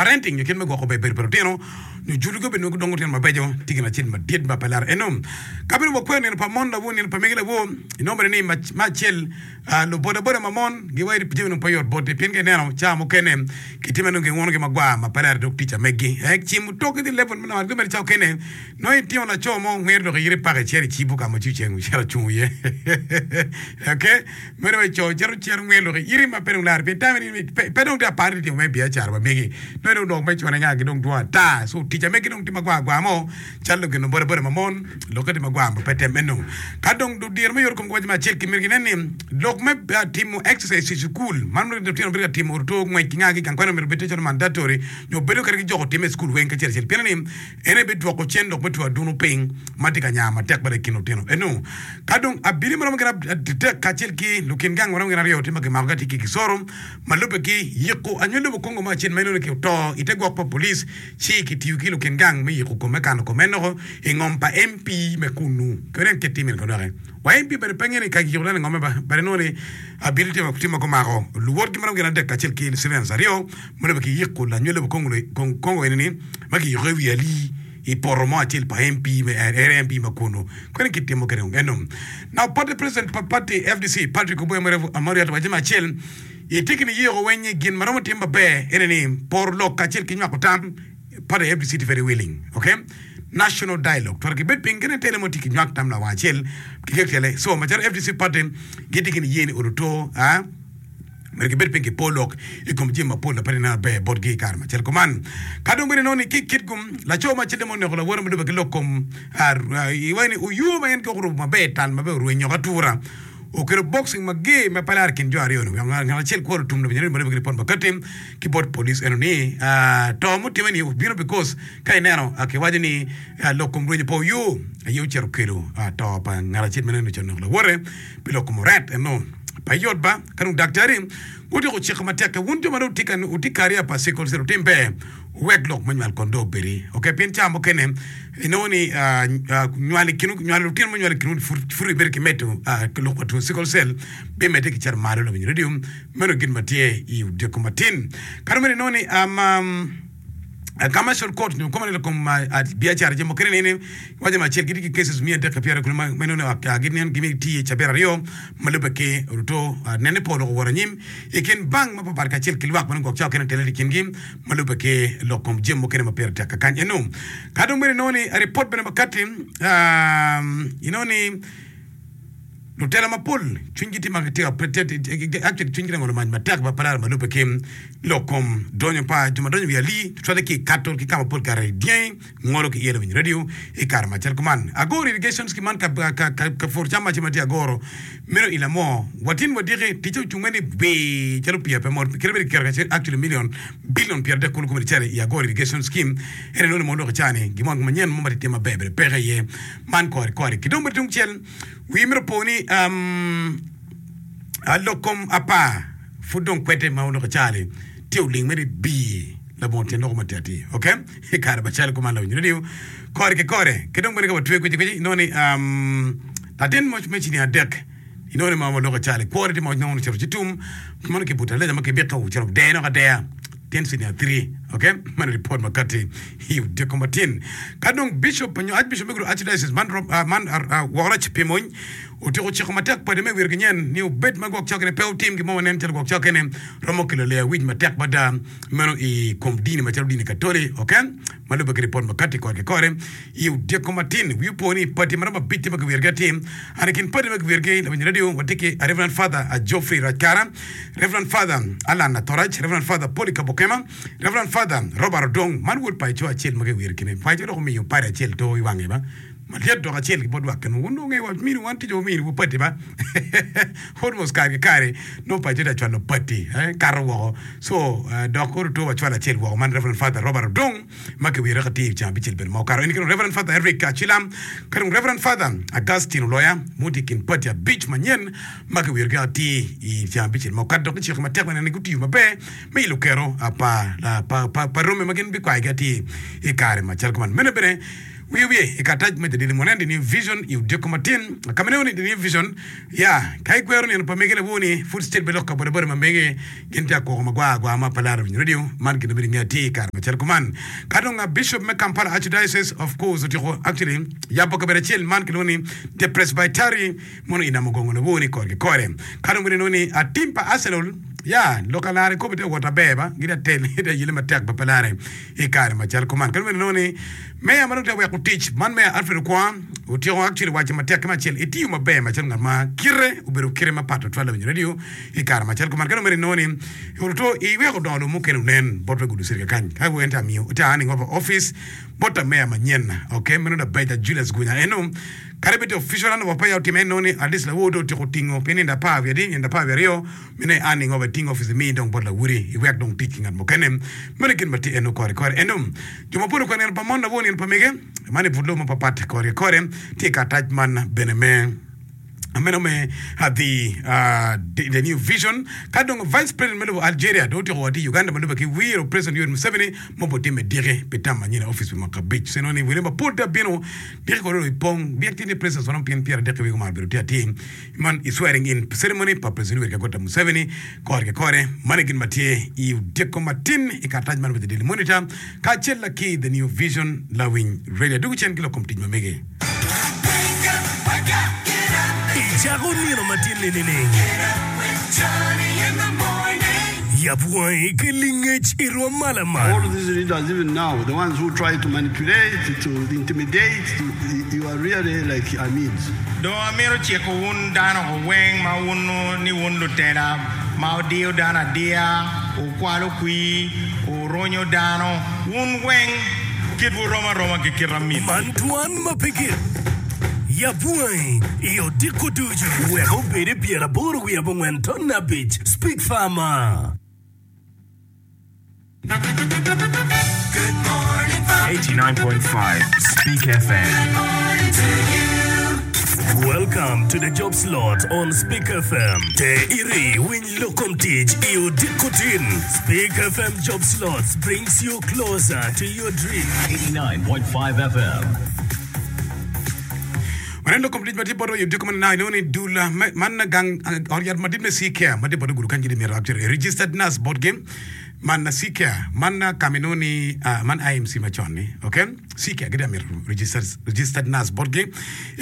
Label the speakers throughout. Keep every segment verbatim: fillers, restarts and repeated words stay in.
Speaker 1: Parenting nyo kit me gwoko ber bedo pa lutino nyo julogi obedo nongo gidongo lutino mabeco tye gin acel madit ma pe laro eno. Ka bene wakwero nino pa mon lawo nino pa mege lawo inongo bene ni me acel lubodaboda ma mon giwaco ni jami dong pe yot botgi pien ka ineno cawa mukene kitime nongo gingunogi magwar ma pe laro dog tic ameggi. Cimo toki tye level me nongo mere cawa mukene nongo itingo laco mo ngwero dok iyito ipako icito icibo ka ma ci ceng ocito ocung iye. Okay meno wai co cito cito ngwero dok iyiti ma pe dong laro pien time ni pe dong tye apar ni timo me biacara ma megi nongo dong dok me cone nga gi dong dwong ata so tic amegi dong tye magwar gwar mo calo gin bodaboda ma mon lokke tye magwar ma pe tem eno. Ka dong ludiro me yot kom giwaco me acel ki myero ginen ni lok me timo exercise i cukul man lutino bedo ka timo oruto ngwec ki nga ki gang kwan myero obed tye calo mandatory nyo bedo kadi gijoko time i cukul weng kacel acel pien ni en aye bidwoko cen lok me two adunu piny ma tye ka nya matek bene i kin lutino eno. Ka dong abili ma romo gin adek kacel ki lukin gang ma romo gin aryo tye ma kimako ka tye ki kisoro ma lubbe ki yiko anywali lobo Congo mo acel ma inongo ni oto i te gwok pa police ci kitiyo ki lukin gang me yiko kome kano kome noko i ngom pa M P me kunu. Kadi en kit timine kono doki. Wa M P bene pe ngeyo ni ka kiyiko dano i ngome ba bene inongo ni abili tye ma gumako luwotgi ma romo gin adek kacel ki civilians aryo ma lubbe ki yiko lanywali lobo Congo eni ni ma kiyiko i wi alii i poto mo acel pa M P me area M P ma kunu koni kitimo kede eno. Now party president pa party F D C Patrick Oboi Amuriat owaco me acel itye ki niyeko weng gin ma romo tim maber ene ni poro lok kacel ki nywako tam party F D C tye very willing, okay, national dialogue twero gibed piny kene tele mo tye ki nywak tam lawang acel ki kek tele so macalo F D C party gitye ki niye ni oruto ah myero gibed piny ki po lok i kom jami mapol na pe gineno ber botgi i kare macel kuman. Ka dong bene inongo ni ki kit gum laco ma acel mo oneko lawote ma lubbe ki lok kom iwaco ni oyuo ma en gwok orubo maber tal maber orwenyo atura okelo boxing mager ma pe laro i kin jo aryo ni ngat acel kworo tum labongo ma lubbe ki ripot makati ki bot police eno ni to mutime ni obino because ka ineno kiwaco ni lok kom rwenyo pa oyuo aye ocito okelo to pa ngat acel ma neno ocito oneko lawote pi lok kom oret eno pa yot ba. Ka dong daktari gutyeko ciko matek wun jo ma dong wutye kariya pa sickle cell wutim ber wuwek lok me nywal kon dong obedi ok pien ca mukene inongo ni nywal i kin nywalo lutino me nywal i kin pud ibedo ki medo lok pa two sickle cell bimedde ki cito malo lawiny radio meno gin ma tye i odyeko matin. Ka dong bene inongo ni commercial court nyo koma ni kom biacara jami mukene nene waco me acel gitye ki cases miya adek ki pyeraryo kulu ma inongo ni gimiyo tiyo i cabit aryo ma lubbe ki oruto nene pol owot anyim i kin bank mapapat kacel ki lwak ma nongo gwok cawa kene tele i kingi ma lubbe ki lok kom jami mukene ma pire tek kakany eno. Ka dong bene inongo ni ripot bene makati inongo ni lutela mapol cwinygi tye ma gitye actually cwinygi tye ngolo mac matek ma pe laro ma lubbe ki lok kom donyo pa jo ma donyo i wi alii tutwalle ki i kato ki ka ma pol kare dyangi ngolo ki iye lawiny radio i kare macel kuman. Agoro irrigation scheme man ka, ka, ka, ka pur cam mace ma tye agoro meno i lamo watin wadiki ticce ocung mere ni bii calo pii pe mot kite bedo kiketo kacel actually million billion pyera adek kulu kome cere i Agoro irrigation scheme ene nongo mo lok cani gimo manyen mo ma tye maber bene peke iye man kore kore ki dong bene tung cel wi mito po ni um, lok kom apar pud dong kwete ma oloko cani tye oling mere bii labongo tyen loko matir atir, okay, i kare macalo kuman lawiny radio kore ki kore ki dong bene ka watwe kwici kwici inongo ni um, latin mo me cinia adek inongo ni ma waloko cali kwore tye ma nongo ocito ci tum mano kibuto aleja ma kibito ocito deno ka deya tyen senior three, okay, mano report makati i odiko matin. Ka dong bishop nyo archbishop me Gulu archdiocese man uh, man uh, wokoroc pi mony otyeko ciko matek padi me wiro ginyen ni obed ma gwok cokene pe otim gin mo ma nen calo gwok cokene romo kelo leya wic matek mada meno i kom dini macalo dini Katoli, okay, ma lubbe ki ripot makati kore ki kore i odiko matin. Wi opo ni padi ma romo abic tye ma kiwirogi atir and i kin padi ma kiwirogi lawiny radio watye ki Reverend Father Geoffrey Rajkara, Reverend Father Alan Atorac, Reverend Father Polycarp Okema, Reverend Father Robert Odong man wod paco acel ma kiwiro kine paco dok omiyo padi acel to i wange ba malyet dok acel ki bot lwak kene wun dong ngeyo mini wan tic omini wu padi ba almost kare ki kare nongo paco tye acwalo padi eh, kato woko so uh, dok koro to wacwalo acel woko man Reverend Father Robert Odong ma kiwiro ka tye i ceng abicel bene ma okato en kino Reverend Father Eric Achilam ka dong Reverend Father Augustine Oloya muti i kin padi abic manyen ma kiwirogi atir i ceng abicel ma okato dok giciko matek bene ni gutiyo maber me ilo kero pa, pa, pa, pa romi ma gin bikwayogi atir i kare macalo kuman meno bene Wiye wiye i karatac me The Daily Monitor, The New Vision i odiko matin. Ka ma inongo ni The New Vision, ya, ka ikwero nino pa mege lawor-ni, pud cit bene lok ka bodaboda ma mege gin tye akoko magwar agwar ma pe laro winyo radio. Man gin ma myero inge atir i kare macalo kuman. Ka dong Bishop me Kampala Archdiocese of course otyeko actually yabo kabedo acel man kilwongo ni The Presbytery mono i Namugongo lawor-ni kore ki kore. Ka dong bene inongo ni tim pa Arsenal, ya, lok alare kome tye ka wot aber ba, gitye ka tele, gitye ka yelle matek ba pe lare i kare macalo kuman. Ka dong bene inongo ni Meya ma dong tye ka weko tic man Meya Alfred Okwonga otyeko actually waco matek ki me acel itiyo maber macalo ngat ma kite obedo kite mapat tutwal lawiny radio i kare macalo kuman ka dong mere inongo ni oruto iweko dongo dong mukene onen bot wek oducere kakany ka en tye amiyo tye handing over office bot ta meya manyen ok meno Labeja Julius Gunya eno kadi bed official handover peya otime inongo ni at least lawor dong otyeko tingo pi nindo apar wiye adi nindo apar wiye aryo Mine an ingo bene ting opic imi dong bot lawoti iwek dong tic ki ngat mukene. Meno gin ma tye eno kore kore eno. Jo mapol okwero nino pa mon lawor nino pa mege man i but lobo mapapat kore ki kore. Tye i karatac man bene me meno me the the new vision. Ka dong vice president me lobo Algeria dong otyeko wot i Uganda ma lube ki wiro president Yoweri Museveni ma obi timme diki pi tam manyen i opic pi mwaka abic. Ceno ni wele mapol tye abino diki kore dong ipong byek tye ni presidents ma romo pien pyeradek ki wiye gumaro bedo tye atir. Man i swearing in ceremony pa President Yoweri Kaguta Museveni kore ki kore. Man e gin ma tye i odiko matin i karatac man me The Daily Monitor kacel la ki The New Vision Lawiny Radio. Adwogo cen ki lok kom tic ma mege.
Speaker 2: Icako nino matin-ni nining? Yab wangi ki lingec i rwom ma lamal.
Speaker 3: All these leaders even now, the ones who try to manipulate, to intimidate, to, you are really like Amids.
Speaker 4: Dong amito ciko wun dano weng ma wunnu ni wun lutela ma wudiyo dano adiya, wukwalo kwir, wurunyo dano, wun weng kitwu rom aroma ki kit amit.
Speaker 2: Man dwan ma pe gik. Yab wangi i odiko ducu. Wek obed i pyeraboro wiye abongwen tonne abic. Speak Farmer.
Speaker 5: Eighty-nine point five Speak FM.
Speaker 2: Welcome to the job slot on Speak FM. Te iri winy lok kom tic i odiko tin. Speak FM Job Slots brings you closer to your dream.
Speaker 5: Eighty-nine point five FM.
Speaker 1: Waneno lok kom tic ma tye bot odiko man inongo ni dul man gang ot yat madit me C-Care ma tye bot gudo kany gitye myero actually registered nurse botgi man C-Care man ka ma inongo ni man I M C macon ni ok C-Care gitye myero registered registered nurse botgi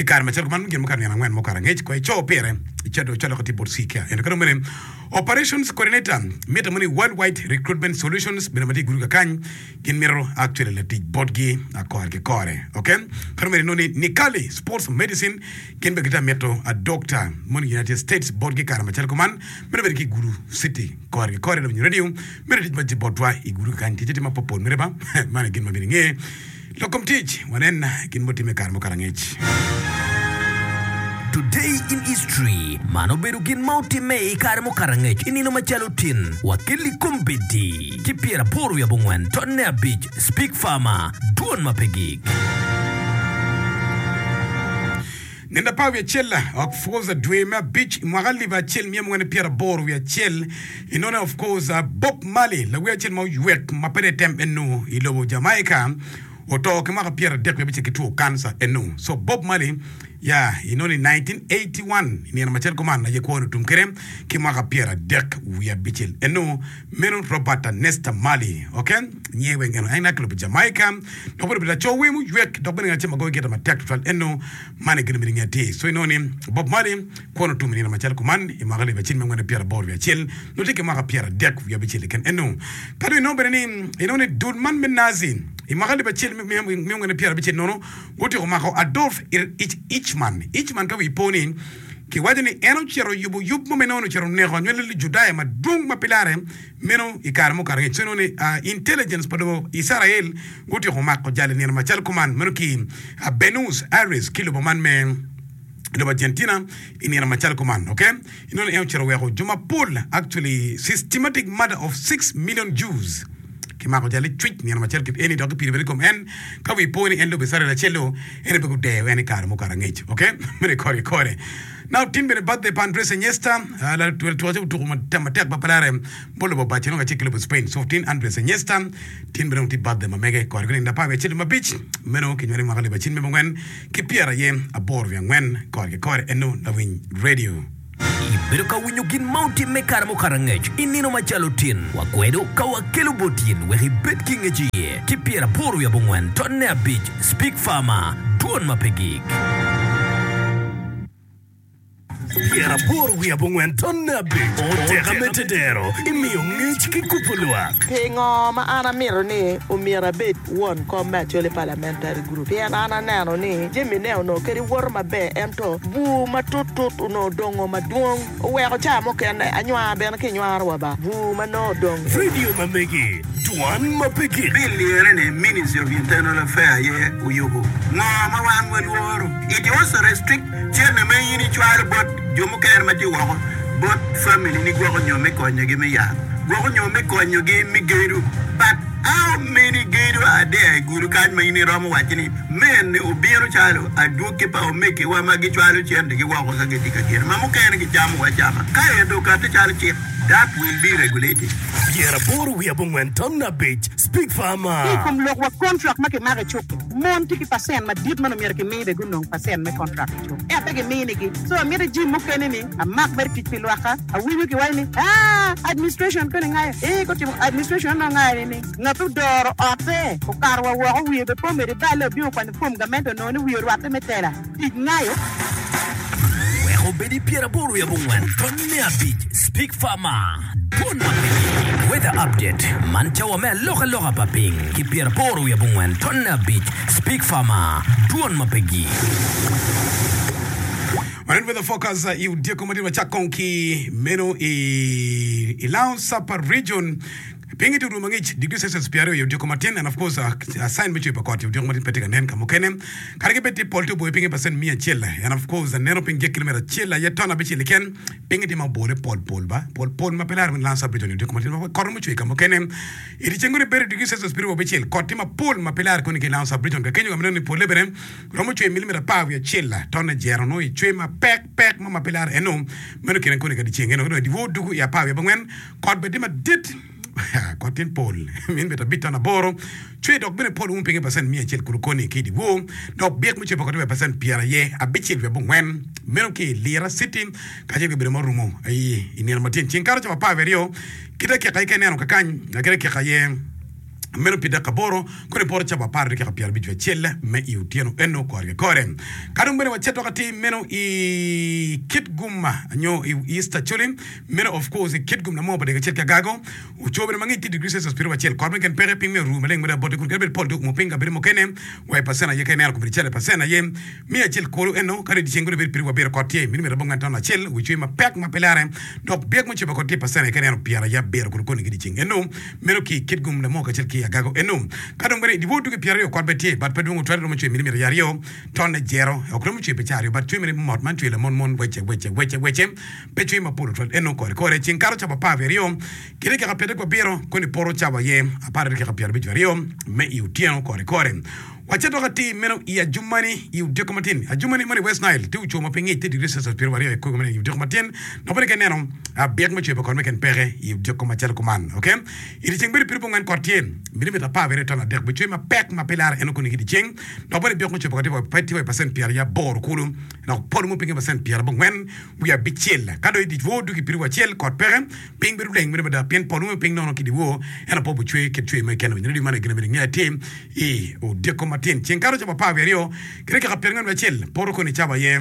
Speaker 1: i kare macalo man gin mukato nino angwen mukato angec ko ico pire icito icwalo ka tye bot C-Care ento ka dong bene operations coordinator mitte mo ni Worldwide Recruitment Solutions bene ma tye i gudo kakany Gin mito actually latic botgi kore ki kore. Ok. Ka dong inongo ni Nikali Sports Medicine gin bene gitye mito a doctor mono i United States botgi kare macalo kuman. Meno bedo ki i Gulu City kore ki kore lawinyo radio meno tic ma tye botwa i Gulu kany ticce tye mapopol mere ba man aye gin ma myero inge. Lok kom tic wanen gin mutimme i kare mukato angec.
Speaker 2: Today in History, Man obedo gin ma otimme i kare mukato angec i nino macalo tin wa kelli kombeddi ki pyeraboro wiye abongwen tonne abic Speak Farmer, Dwon ma pe gik.
Speaker 1: Nino apar wiye acel of course dwe me abic i mwaka alip acel miya mungwen ki pyeraboro wiye acel inone of course Bob Marley lawer acel ma oywek ma pe dong etem eno i lobo Jamaica oto ki mwaka pyeradek wiye abicel ki two kanca eno so Bob Marley ya inongo ni nineteen eighty one i nino macel kuman aye kwone otum kwede ki mwaka pyeradek wiye abicel eno meno Robert Nesta Marley ok nyinge weng eno en a ki lobo Jamaica dok bene obedo laco wer muywek dok bene ngat acel ma goyo gita matek tutwal eno man aye gin myero inge atir so inongo ni Bob Marley kwone otum i nino macel kuman i mwaka alip acel miya angwen pyeraboro wiye acel nongo tye ki mwaka pyeradek wiye abicel keken eno ka dong inongo bene ni inongo ni dul man me Nazi i mwaka alip acel miya angwen pyerabicel nono gutyeko mako Adolf Eichmann. Eichmann ka wi po ni kiwaco ni en ocito oyubo yub mo me nongo ocito oneko anywali Lujudaya madwong ma pe larre meno i kare mukato angec. So inongo ni intelligence pa lobo Icrael gutyeko mako jal i nino macalo kuman meno ki Buenos Aires ki lobo man me lobo Argentina i nino macalo kuman. Ok, inongo ni en ocito oweko jo mapol actually systematic murder of six million Jews. Kimako jal licwic nino macalo kit eni dok kipido bene i kom en. Ka wi po ni en lobo Icrael acel-lu, en aye pe gudeyo en i kare mukato angec. Ok, meno i kore kore. Now tin bene birthday pa Andres Iniesta, latwel tuko tuko matek ma pe lare bot lobo Barcelona kacel ki lobo Spain. So tin Andres Iniesta tin bene dong tye birthday ma mege kore ki nino apar wiye acel dwe me abic meno kinywale i mwaka alip acel miya abongwen ki pyera aye aboro wiye angwen kore ki kore eno lawiny radio.
Speaker 2: Ibedo ka winyo gin ma otimme i kare mukato angec i nino macalo tin. Wakwedo ka wakelo bot in wek ibed ki ngec iye ki pyeraboro wiye abongwen tonne abic Speak Farmer, Dwon ma pe gik.
Speaker 5: Pyeraboro wiye abongwen tonne abic Oteka me tedero imiyo ngec ki kubo lwak.
Speaker 6: Pingo ma an amito ni omyero abed won kom me Acholi Parliamentary Group? Pien an aneno ni jami ne onongo kadi woto maber ento bur matut tut onongo odongo madwong oweko ca mukene anywar bene ki nywaro wa ba bur ma nongo odong.
Speaker 5: Radio ma megi, dwan ma pe gik.
Speaker 3: Bill lire ni Ministry of Internal Affair aye oyubo. Ngo ma wan walworo? It also restrict cente ma in icwalo bot jo mukene ma tye woko bot family ni gwoko nyo me konyogi me yat, gwoko nyo me konyogi me gedo. But how many gedo are there i gudo kany ma in iromo waco ni mene obino calo adwogi pa omegiwa ma gicwalo centegi woko ka gitye ka gedo ma mukene gicamo wa acama ka ento okati calo cik that will be regulated.
Speaker 5: Pyeraboro wiye abongwen ton abic Speak
Speaker 7: Ki i
Speaker 5: Farmer.
Speaker 7: kom lok wa kontrak ma kimako i cuk-ki, mon tye ki pacent madit ma nongo myero kimi be gunong pacent me kontrak i cuk, ento pe giminigi. So amito jim mukene ni amak mere tic pi lwakka. Awinyo kiwaco ni, Aa, administration koni ngayo. Ee, gutimo administration onongo ngayo ni ngat odoro otte okato wa woko wiye be pe omedo iballe obino okwanyo fom gamente onongo ni wiye orwatte me tela tic ngayo.
Speaker 2: Wek obed i pyeraboro wiye abongwen tonne abic Speak Farmer Dwon ma piny Weather Update Man cawa me alokaloka pa piny ki pyeraboro wiye abongwen tonne abic Speak Farmer Dwon ma pe gik.
Speaker 1: Wanen weather forecast i odyeko madit wacak kong ki meno i i Lao Sapa region. Pinyi tye orumo mangic degree Celsius pyeraryo i odyeko matin and of course a sign me cwer pa kot i odyeko matin pe tye ka nen ka mukene. Kadi ki bed tye pol tye oboyo pinyi percent miya acel and of course aneno piny gik kilometer acel aye ton abicel keken pinyi tye ma obole pol pol ba pol pol ma pe laro me Lansa Bridge i odyeko matin ma kot romo cwer ka mukene. I dyeceng gudi bedo degree Celsius pyeraryo abicel kot tye mapol ma pe laro koni ki i Lansa Bridge ka kenyo ka ma ineno ni pole bene romo cwer milimita apar wiye acel tonne jero nongo i cwer mapek pek mo ma pe laro eno meno kine koni ka dyeceng eno ki dong i dyewor dugu i apar wiye abongwen Kot bene tye madit, kot tye pol milimita abic ton aboro, cwer dok bene pol umo pinye pacent miya acel kulu koni ki i dyewor, dok byek me cwer pa kot tye wa i pacent pyeraye abicel wiye abongwen, meno ki i Lira City kacel ki kabedo ma orumo i nino ma tyen ceng kato cawa apar wiye aryo ki dakika aye ka ineno kakany ki dakika aye meno pi dakika aboro kono iporo cawa apar dakika pyerabic wiye acel me i otyeno eno kore ki kore. Ka dong bene wacito atir meno i Kitgum nyo i East Acholi Meno of course i kit gum lamo pa dek acel ki agago ocobo bene mangic tye degree Celsius pyeraryo acel kot meken peke piny me oru maleng mada bote kun kadi bed pol tye oumo piny kabedo mukene wa i pacen aye ka ineno kobedo calo i pacen aye miya acel kulu eno kadi dyeceng kodi bedo pyeraryo abiro kot tye milimita abongwen ton acel wi cwer mapek ma pe lare dok byek mucobo kot tye i pacen aye ka ineno pyeraryo abiro kulu koni ki dyeceng eno meno ki i kit gum lamo kacel ki agago eno ka dong bene i dyewor tugi pyeraryo kot bene tye but pe dwong otwero romo cwer milimita aryo tonne jero ok romo cwer pi ca aryo but cwer mere mot man cwer lamon mon wece wece wece wece Pe cwiny mapol otwal eno kore kore ceng kato cawa apar wiye aryo ki dakika pyeradek wa abiro koni poto cawa aye apar dakika pyerabic wiye aryo me i otyeno kore kore. Wacito atir meno i Adjumani i odyeko matin. Adjumani man i West Nile tye ocung ma pe ngic tye degree Celsius pyeraryo aryo i kor meno i odyeko matin dok bene ka ineno byek me cwer pa kot me ken peke i odyeko macalo kuman. Ok i dyeceng bedo pyerabongwen ngwen kot tye milimita apar wiye aryo ton adek bicwer mapek ma pe lare eno koni ki dyeceng dok bene byek me cwer pa kot tye wa i pacent pyeraryo aboro kulu dok pol mo pinye pacent pyerabongwen wiye abicel. Ka dong i dyewor ducu i piriwu acel, kot peke, piny bedo leng meno mada, pien pol wume piny nono ki dyewor, ento pe wubicwer kit cwer mo keken. Winyo redio man aye gin ma myero inge atir i odiko matin. Ceng kato cawa apar wiye aryo ki dakika pyerangwen wiye acel, poto koni cawa aye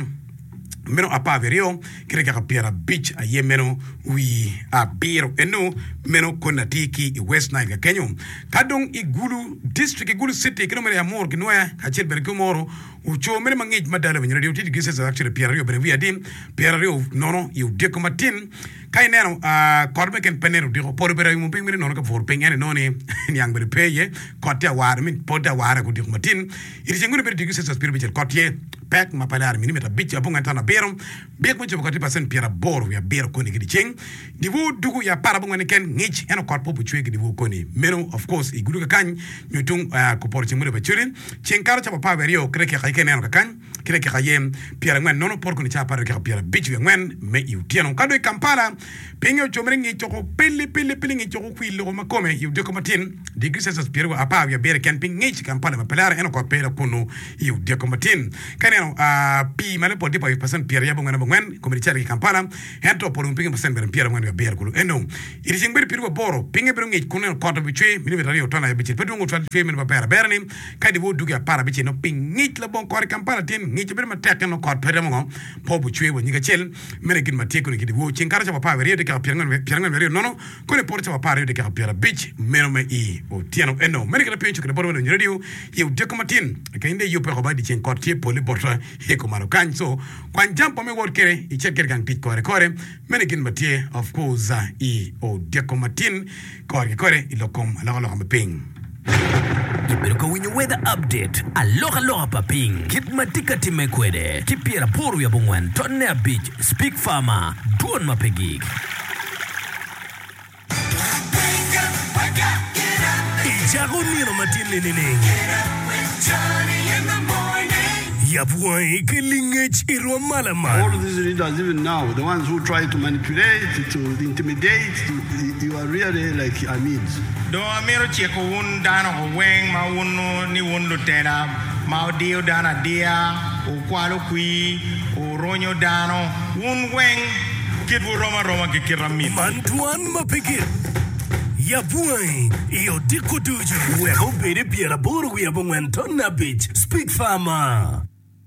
Speaker 1: meno apar wiye aryo ki dakika pyerabic aye meno wi abiro. Eno meno koni atir ki i West Nile kakenyo. Ka dong i Gulu District, i Gulu City ki dong bene i Amuru ki Nwoya kacel bene ki Omoro, Oco mene ma ngic mada lawiny radio tye degree Celsius actually pyeraryo bene wiye adi pyeraryo nono i odiko matin. Ka ineno kot mo keken pe nen odiko pol obedo ayumo piny meno nono ka pur piny ento inongo ni niang bedo pe iye kot tye awara I mean pol tye awara odiko matin. I dyeceng meno bedo degree Celsius pyerabicel kot tye pek ma pe laro milimita abic abongwen tano abiro byek me cobo kot tye pacent pyeraboro wiye abiro koni ki dyeceng. Dyewor dugu i apar abongwen keken ngic ento kot pe obicwe ki dyewor koni meno of course i gudo kakany nyo tung kupoto ceng me lobo Acholi ceng kato cawa apar wiye aryo ki dakika aye ka ineno kakany ki dakika aye pyerangwen nono poto koni cawa apar dakika pyerabic wiye angwen me i otyeno. Ka dong i Kampala pinye ocomere ngic coko pili pili pili ngic coko kwir loko ma kome i odiko matin degree Celsius pyeraryo apar wiye abiro keken piny ngic i Kampala ma pe lare ento kot pe dok kunu i odiko matin. Ka ineno pii malo pol tye pa pacent pyeraryo abongwen abongwen kome licalo ki i Kampala ento pol wun pinye pacent bene pyerangwen wiye abiro kulu eno i dyeceng bedo pyeraryo aboro pinye bedo ngic kun neno kot obicwe milimita aryo ton abicel pe dwongo twal cwer meno maber abera ni ka dyewor dugi apar abicel nongo piny ngic labongo kot i Kampala tin ngic obedo matek ento kot pe romo ngo pe obucwe wa nyig acel meno gin ma tye koni ki dyewor ceng kato cawa apar wiye aryo dakika pyerangwen wiye aryo nono koni poto cawa apar aryo dakika pyerabic meno me i otyeno eno meno kite piny ocukine bot wa lawiny radio i odiko matin ka in dong iyubbe woko ba dyeceng kot tye pole bota i kumalo kany so kwany jampa me wot kwede icit kwede gang tic kore kore meno gin ma tye of course i odiko matin kore ki kore i lok kom alokaloka me piny.
Speaker 2: Ibedo ka winyo Weather Update, alokaloka pa piny, kit ma tye ka timme kwede, ki pyeraboro wiye abongwen tonne abic, Speak Farmer, dwon ma pe gik.
Speaker 5: Icako nino matin-ni nining? Yab wangi ki lingec i rwom ma lamal.
Speaker 8: All these leaders even now, the ones who try to manipulate, to intimidate, to, you are really like Amids.
Speaker 4: Dong amito ciko wun dano weng ma wunnu ni wun lutela ma wudiyo dano adiya, wukwalo kwir, wurunyo dano, wun weng kitwu rom aroma ki kit amit.
Speaker 5: Man dwan ma pe gik. Yab wangi i odiko ducu. Wek obed i pyeraboro wiye abongwen ton abic. Speak Farmer.